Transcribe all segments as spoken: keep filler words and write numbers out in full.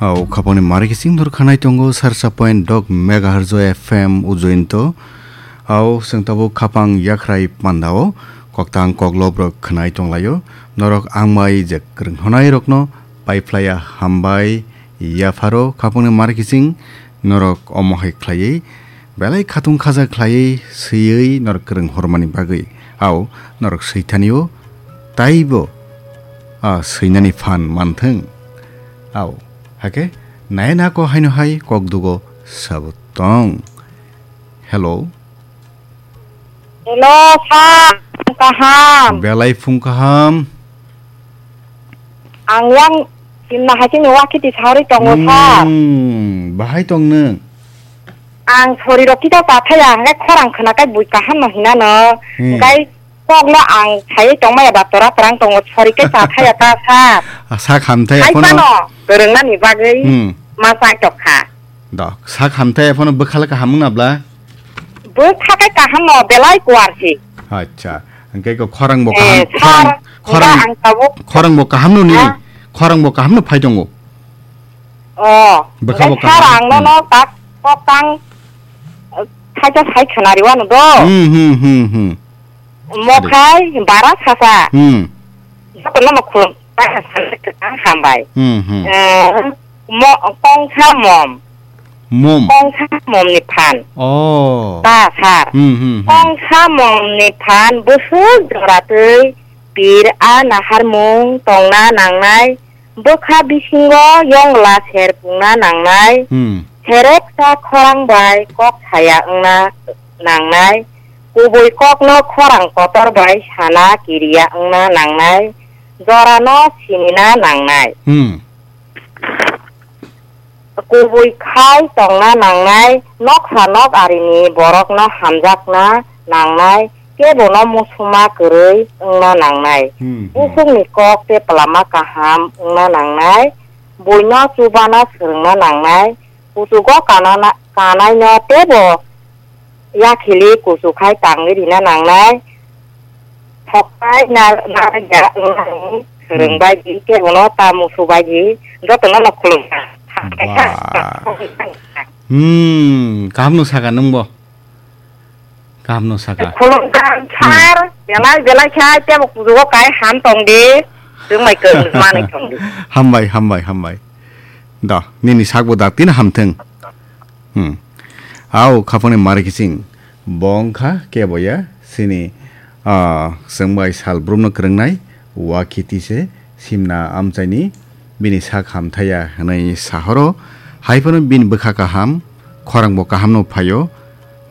Au khapangni mari kising dor khanai tongo sarsa point dok megahertz o F M ujointo. Au chwng tabuk khapang yakhrai pandao koktang koklop rok khnai tonglaio. Norok ang bai je kwrwng honai rokno paiphlaiya hambai yapharo khapangni mari kising norok omo hai khlaiwi belai khatung khaja khlaiwi swiwi norok kwrwng hormani bagwi. Au norok swithanio taibo a swinani phan manthwng. Au, hake, nai nako haino hai kok dugo sabo tong. Hello. Hello, sir. Kaham. Belai phung kaham. Ang yang simna hai chini wakiti sauri tongo, sir. Hmm, bahai tong nung? Ang sori rok kita pathaya, hingke khorang khwna kai bui kaham no hinano. Hmm. Hingke Kokno ang sai tongmaya doctor a kwrang tongo, sori khe cha thaya ta, sir. Sak hamthai hai aphono. Phano kwrwngnani bagwi hmm ma chai tok kha. Do, sak hamthai aphono bwkha le kaham wngna bla? Bwkha khe kaham no, belai kuar si. Acha, hingke ko khorang bo eh, kaham, sir, khorang, khorang, ang tabuk khorang bo kaham no ni, ha? Khorang bo kaham no phai tongo. Oh, bwkha bo kaham. Sir, ang no hmm no tak kok tang, eh, thaisa sai khwnari wano do. Hmm, hmm, hmm, hmm. Mokhai bara sasa. Hmm. Jotono no khulum. Hambai. Hmm, hmm. Eh, mo-, kongsa mom. Mom. Kongsa mom ni phan. Oh. Ta sir. Hmm, hmm, hmm. Kongsa mom ni phan busuk joratwi pir a naharmung tongna nangnai. Bwkha bisingo yongla ser pungna nangnai. Hmm. Sereksa khorang bai kok saya wngna nangnai. Kubui kokno khorang kotor bai sana kiriya wngna nangnai, jorano sinina nangnai. Hmm. Kubui khai tongna nangnai, noksa nok arini borokno hamjakna nangnai, kebono musuma kwrwi wngna nangnai. Hmm, hmm. Usukni kok tei pwlama kaham wngna nangnai, buino chubana swrwngna nangnai, kuchugo kanana-, kanaino teibo yakhili kuchukhai tangwi rina nangnai. Thokpai na-, narwkya wngnani swrwng hmm bai di, kebono ta musu bai di, jotono no khulumkha. Ba. Hmm, kaham no saka nwng bo. Kaham no saka. Khulumkha hmm sir, belai belai khe tebo kuchugo kai ham tong di, swrwng bai kwrwng manwi tong di. Hambai, hambai, hambai. Da, nini sakbo da, tini hamthwng. Hmm. Au, khapangni mari kiching. Bo wngkha keboya, sini, ah, chwng bai sal brumno kwrwngnai, wa khiti se, simna amchaini, bini sak hamthaya hwnwi sahoro, hai phano bini bwkha kaham, khorang bo kaham no phaio,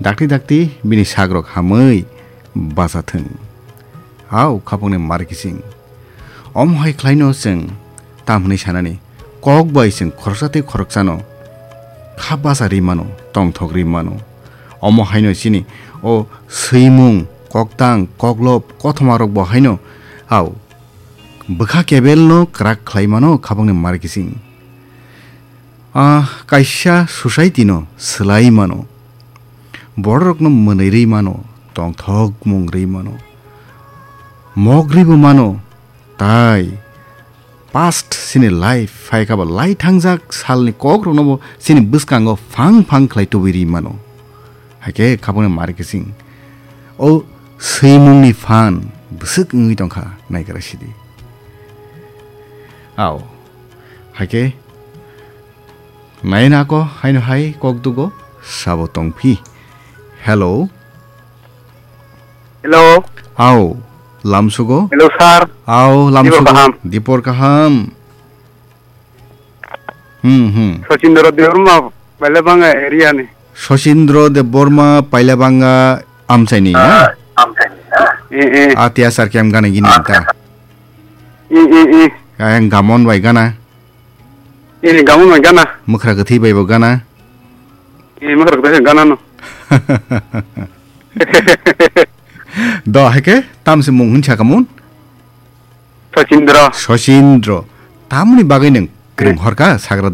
dakti dakti bini sak rok hamwi bachathwng. Au, khapangni mari kiching. Omo hai khlaino chwng tam hwnwi sanani, kok bai chwng khoroksa tei khoroksano kha bacha ri mano, tongthok ri mano. Omo haino chini o swimung, koktang, koklop, kothoma rok bo haino, au, bwkha kebelno kwrak khlai mano khapangni mari kiching. Ah, kaisa society no swlai mano. Bororokno mwnwi rwi mano, tongthokmung rwi mano. Mok rwibo mano, tai past sini life, phaikha ba lai thangjak salni kokrokno bo sini bwskango phang phang khlai tubui rwi mano. Haikhe khapangni mari kiching. O swimungni phan bwswk wngwi tongkha, naigra sidi. Au. Haikhe Naina ko haino hai kok dugo sabo tongphi. Hello. Hello. Au, lamsugo? Hello, sir. Au, dipor lamsugo? Kaham. Dipor kaham. Hmm, hmm. Sachindra Debbarma, Pailabanga area ni. Sachindra Debbarma, Pailabanga amchaini, na? Eh, eh. Atia sar kem gana gini ta. Eh, eh, eh. Ayang gamon bai gana. Eh, gamon bai gana. Mwkhra kwthwi bai bo gana. Eh, mwkhra kwthwi gana no. Do, haikhe, tamse mung hin sakamun? Sachindra. Sachindra. Tamni bagwi nwng kwrwng horka, sagra